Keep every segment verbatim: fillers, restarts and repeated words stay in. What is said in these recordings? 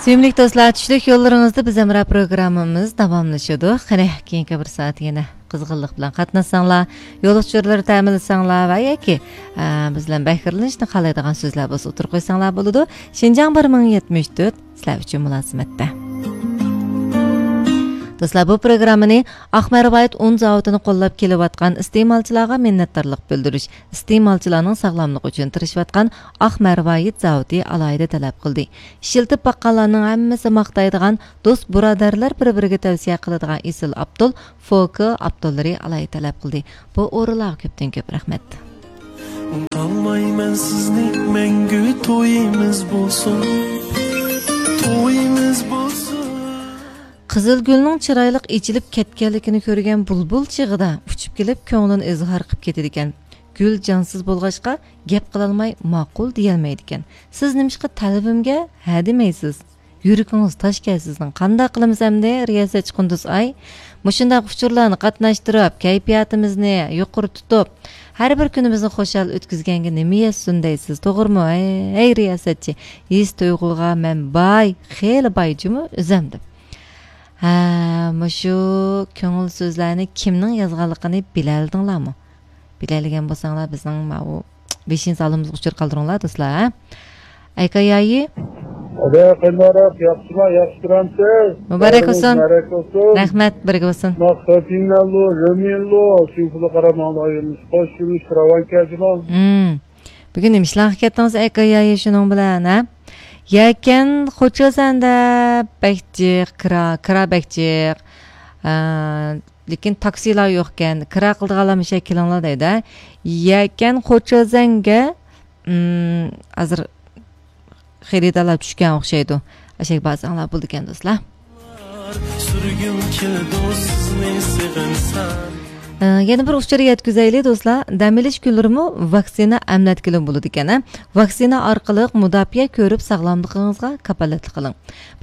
سۆيۈملۈك دوستلار، چۈشلۈك يوللىرىڭىزدا بىز ھەمراھ پروگراممىمىز داۋاملىشىدۇ. قېنى، كېيىنكى بىر سائەت يەنە قىزغىنلىق بىلەن قاتناشساڭلار، يول ئۇچۇرلىرى تەمىنلىسەڭلار ۋە ياكى، ئە، بىز بىلەن بەھرىلىنىشنى خالايدىغان سۆزلەر بولسا ئوتتۇرىغا قويساڭلار بولىدۇ. شىنجاڭ بىر مىڭ يەتمىش تۆت، سىلەر ئۈچۈن مۇلازىمەتتە. دوستلار، بۇ پروگراممىنى ئاق مەرۋايىت ئۇن زاۋۇتىنى قوللاپ كېلىۋاتقان ئىستېمالچىلارغا مىننەتدارلىق بىلدۈرۈش، ئىستېمالچىلارنىڭ ساغلاملىقى ئۈچۈن تىرىشىۋاتقان ئاق مەرۋايىت زاۋۇتى ئالاھىدە تەلەپ قىلدى. ئىشلىتىپ باققانلارنىڭ ھەممىسى ماختايدىغان، دوست بۇرادەرلەر بىر-بىرىگە تەۋسىيە قىلىدىغان ئېسىل ئابدۇل، فوكا ئابدۇللىرى ئالاھىدە تەلەپ قىلدى. بۇ ئورۇنلارغا كۆپتىن كۆپ رەھمەت. ئۇنتالمايمەن سىزنى، مەڭگۈ تويىمىز بولسۇن، تويىمىز بولسۇن. قىزىلگۈلنىڭ چىرايلىق ئېچىلىپ كەتكەنلىكىنى كۆرگەن بۇلبۇل چېغىدا ئۇچۇپ كېلىپ، كۆڭلىنى ئىزھار قىلىپ كېتىدىكەن. گۈل جانسىز بولغاچقا، گەپ قىلالماي ماقۇل دېيەلمەيدىكەن. سىز نېمىشقا تەلىپىمگە ھە دېمەيسىز؟ يۈرىكىڭىز تاشكەن سىزنىڭ. قانداق قىلىمىز ئەمدى، رىياسەتچى قۇندۇز ئاي؟ مۇشۇنداق ئۇچۇرلارنى قاتناشتۇرۇپ، كەيپىياتىمىزنى يۇقىرى تۇتۇپ، ھەر بىر كۈنىمىزنى خۇشال ئۆتكۈزگەنگە نېمە يەتسۇن دەيسىز، توغرىمۇ؟ ھەي، ھەي، رىياسەتچى، ھېس تۇيغۇغا مەن باي، خېلى باي جۇمۇ ئۆزەم دەپ. ھە، مۇشۇ كۆڭۈل سۆزلەرنى كىمنىڭ يازغانلىقىنى بىلەلىدىڭلارمۇ؟ بىلەلىگەن بولساڭلار، بىزنىڭ ماۋۇ بېشىنچى سالونىمىزغا ئۇچۇر قالدۇرۇڭلار، دوستلار، ھە؟ ئەيكا يايى. ئەدە قېنىراق، ياخشىما، ياخشى تۇرامسىز؟ مۇبارەك بولسۇن. مۇبارەك بولسۇن. رەھمەت، بىرگە بولسۇن. ما خېتىنلەرلۇ، رېمىنلۇ، شۇ پۇلى قارىماڭلار، ئايرىلىش، خوش يۈرۈش، راۋان كەجىماڭ. مم. بۈگۈن نېمە ئىشلارغا كەتتىڭىز، ئەيكا يايى، شۇنىڭ بىلەن، ھە؟ يەكەن خوچا سەندە بەك جىق، كىرا، كىرا بەك جىق. ئە، لېكىن تاكسىلار يوقكەن، كىرا قىلىدىغانلار مۇشۇ يەرگە كېلىڭلار دەيدۇ. يەكەن خوچا زەڭگە، ئىم، ھازىر خېرىدارلار چۈشكەن ئوخشايدۇ. ئاشەگە بارساڭلار بولىدىكەن، دوستلار. سۈرگۈم كېلىدۇ سىزنى سېغىنسام. ئە، يەنە بىر ئۇچۇر يەتكۈزەيلى، دوستلار. دەم ئېلىش كۈنلىرىمۇ ۋاكسىنا ئەملەتكىلى بولىدىكەن، ھە؟ ۋاكسىنا ئارقىلىق مۇداپىئە كۆرۈپ، ساغلاملىقىڭىزغا كاپالەتلىك قىلىڭ.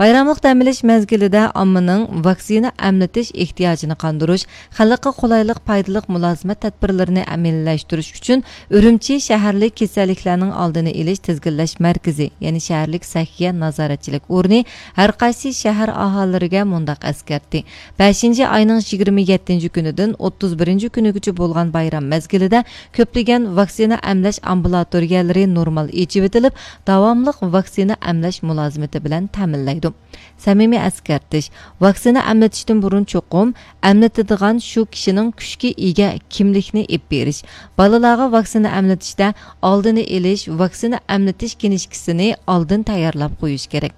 بايراملىق دەم ئېلىش مەزگىلىدە ئاممىنىڭ ۋاكسىنا ئەملىتىش ئېھتىياجىنى قاندۇرۇش، خەلققە قولايلىق، پايدىلىق مۇلازىمەت تەدبىرلىرىنى ئەمەلىيلەشتۈرۈش ئۈچۈن ئۈرۈمچى شەھەرلىك كېسەللىكلەرنىڭ ئالدىنى ئېلىش تىزگىنلەش مەركىزى، يەنى شەھەرلىك سەھىيە نازارەتچىلىك ئورنى ھەر قايسى شەھەر ئاھالىلىرىگە مۇنداق ئەسكەرتتى: بەشىنچى ئاينىڭ يىگىرمە يەتتىنچى كۈنىدىن ئوتتۇز بىرىنچى كۈنىگىچە بولغان بايرام مەزگىلىدە كۆپلىگەن ۋاكسىنا ئەملەش ئامبۇلاتورىيەلىرى نورمال ئېچىۋېتىلىپ، داۋاملىق ۋاكسىنا ئەملەش مۇلازىمىتى بىلەن تەمىنلەيدۇ. سەمىمىي ئەسكەرتىش: ۋاكسىنا ئەملىتىشتىن بۇرۇن چوقۇم ئەملىتىدىغان شۇ كىشىنىڭ كۈچكە ئىگە كىملىكنى ئېلىپ بېرىش، بالىلارغا ۋاكسىنا ئەملىتىشتە ئالدىنى ئېلىش، ۋاكسىنا ئەملىتىش كىنىشكىسىنى ئالدىن تەييارلاپ قويۇش كېرەك.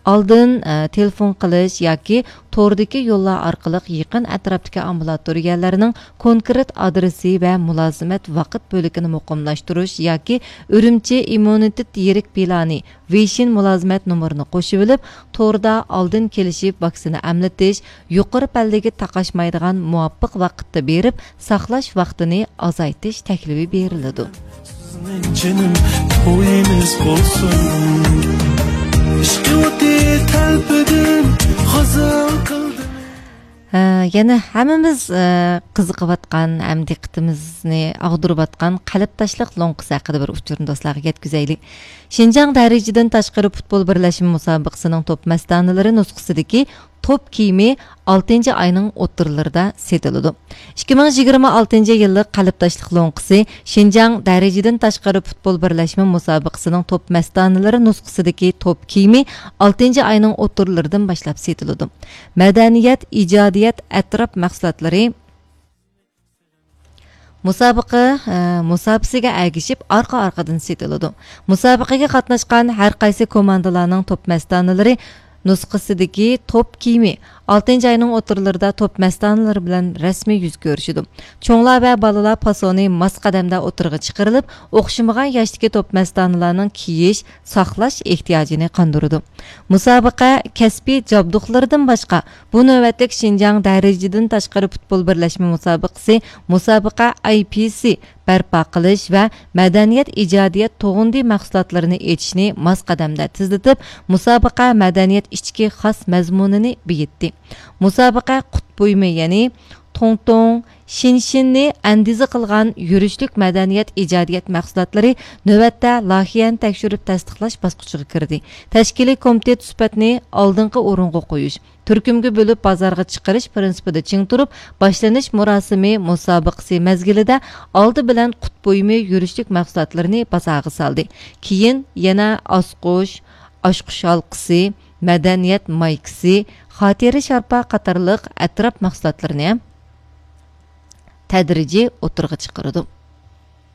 ئالدىن، ئە، تېلېفون قىلىش ياكى توردىكى يوللار ئارقىلىق يېقىن ئەتراپتىكى ئامبۇلاتورىيەلەرنىڭ كونكرېت ئادرېسى ۋە مۇلازىمەت ۋاقىت بۆلىكىنى مۇقىملاشتۇرۇش ياكى ئۈرۈمچى ئىممۇنىتېت يىرىك پىلانى، ۋېيشىن مۇلازىمەت نومۇرىنى قوشۇۋېلىپ، توردا ئالدىن كېلىشىپ ۋاكسىنا ئەملىتىش، يۇقىرى پەللىگە تاقاشمايدىغان مۇۋاپىق ۋاقىتتا بېرىپ، ساقلاش ۋاقتىنى ئازايتىش تەكلىپى بېرىلىدۇ. سىزنىڭ جېنىم تويىمىز بولسۇن. ئىشقى ئوتى تەلپىدىم، غازال قىلدىم. ھە، يەنە ھەممىمىز، ئە، قىزىقىۋاتقان ھەم دىققىتىمىزنى ئاغدۇرۇۋاتقان قەلبداشلىق لوڭقىسى ھەققىدە بىر ئۇچۇرنى دوستلارغا يەتكۈزەيلى. شىنجاڭ دەرىجىدىن تاشقىرى پۇتبول بىرلەشمە مۇسابىقىسىنىڭ توپ مەستانىلىرى نۇسخىسىدىكى توپ كىيىمى ئالتىنچى ئاينىڭ ئوتتۇرىلىرىدا سېتىلىدۇ. ئىككى مىڭ يىگىرمە ئالتىنچى يىللىق قەلبداشلىق لوڭقىسى شىنجاڭ دەرىجىدىن تاشقىرى پۇتبول بىرلەشمە مۇسابىقىسىنىڭ توپ مەستانىلىرى نۇسخىسىدىكى توپ كىيىمى ئالتىنچى ئاينىڭ ئوتتۇرىلىرىدىن باشلاپ سېتىلىدۇ. مەدەنىيەت، ئىجادىيەت، ئەتراپ مەھسۇلاتلىرى مۇسابىقە، ئە، مۇساپىسىگە ئەگىشىپ ئارقا-ئارقىدىن سېتىلىدۇ. مۇسابىقىگە قاتناشقان ھەر قايسى كوماندىلارنىڭ توپ مەستانىلىرى نۇسخىسىدىكى توپ كىيىمى ئالتىنچى ئاينىڭ ئوتتۇرىلىرىدا توپ مەستانىلىرى بىلەن رەسمىي يۈز كۆرۈشىدۇ. چوڭلار ۋە بالىلار پاسونى ماس قەدەمدە ئوتتۇرىغا چىقىرىلىپ، ئوخشىمىغان ياشتىكى توپ مەستانىلارنىڭ كىيىش، ساقلاش ئېھتىياجىنى قاندۇرىدۇ. مۇسابىقە كەسپىي جابدۇقلىرىدىن باشقا، بۇ نۆۋەتلىك شىنجاڭ دەرىجىدىن تاشقىرى پۇتبول بىرلەشمە مۇسابىقىسى، مۇسابىقە ئاي پى سى بەرپا قىلىش ۋە مەدەنىيەت ئىجادىيەت تۇغۇندى مەھسۇلاتلىرىنى ئېچىشنى ماس قەدەمدە تېزلىتىپ، مۇسابىقە مەدەنىيەت ئىچكى خاس مەزمۇنىنى بېيىتتى. مۇسابىقە قۇت بۇيۇمى، يەنى توڭتوڭ، شىنشىننى ئەندىزە قىلغان يۈرۈشلۈك مەدەنىيەت ئىجادىيەت مەھسۇلاتلىرى نۆۋەتتە لايىھەنى تەكشۈرۈپ تەستىقلاش باسقۇچىغا كىردى. تەشكىلىي كومىتېت سۈپەتنى ئالدىنقى ئورۇنغا قويۇش، تۈركۈمگە بۆلۈپ بازارغا چىقىرىش پىرىنسىپىدا چىڭ تۇرۇپ، باشلىنىش مۇراسىمى مۇسابىقىسى مەزگىلىدە ئالدى بىلەن قۇت بۇيۇمى يۈرۈشلۈك مەھسۇلاتلىرىنى بازارغا سالدى. كېيىن يەنە ئاسقۇش، ئاشقۇش ھالقىسى، مەدەنىيەت مايكىسى، خاتىرە شارپا قاتارلىق ئەتراپ مەھسۇلاتلىرىنى ھەم تەدرىجىي ئوتتۇرىغا چىقىرىدۇ.